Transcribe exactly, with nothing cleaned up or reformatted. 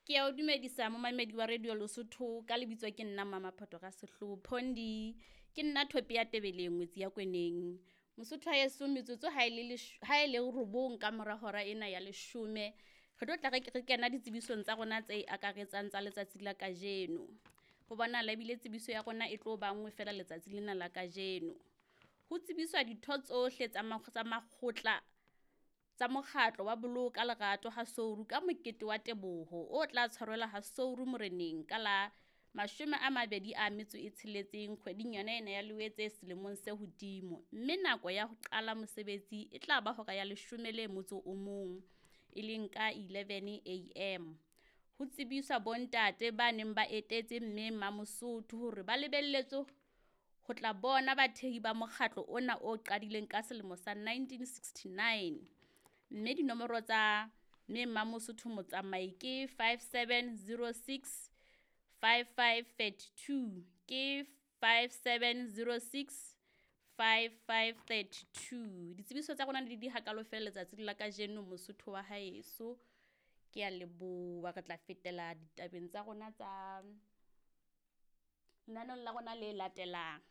Ke ya o dumedisa momamedi wa Radio Lesotho ka lebitso ke nna Mama Photo ka sehloho Phondi. Ke nna thope ya Tebeleng ngwetsi ya Kweneng. Mosotho wa heso metsotso ha e le ha e le robong ka mora hora ena ya leshome. Re tlo tla re re kena ditsebisong tsa rona tse akaretsang tsa letsatsi la kajeno. Ho bonahala ebile tsebiso ya rona e tlo ba nngwe fela letsatsi lena la kajeno. Ho tsebiswa ditho tsohle tsa tsa makgotla tsa mokgatlo wa Boloka Lerato ha Souru ka mokete wa teboho o tla tshwarelwa ha Souru moreneng ka la mashome a mabedi a metso e tsheletseng kgweding yona ena ya Loetse selemong se hodimo. Mme nako ya ho qala mosebetsi e tla ba hora ya leshome le motso o mong, e leng ka eleven A M. Ho tsebiswa bontate ba neng ba etetse mme Mamosotho hore ba lebelletswe ho tla bona bathehi ba mokgatlo ona o qadileng ka selemo sa nineteen sixty-nine. Mme dinomoro tsa mme Mamosotho Motsamai ke five seven zero six five five thirty two, ke five seven zero six five five thirty two. Ditsebiso tsa rona di di hakalo fela letsatsing la kajeno Mosotho wa haeso. Ke a leboha, re tla fetela ditabeng tsa rona tsa lenaneong la rona le latelang.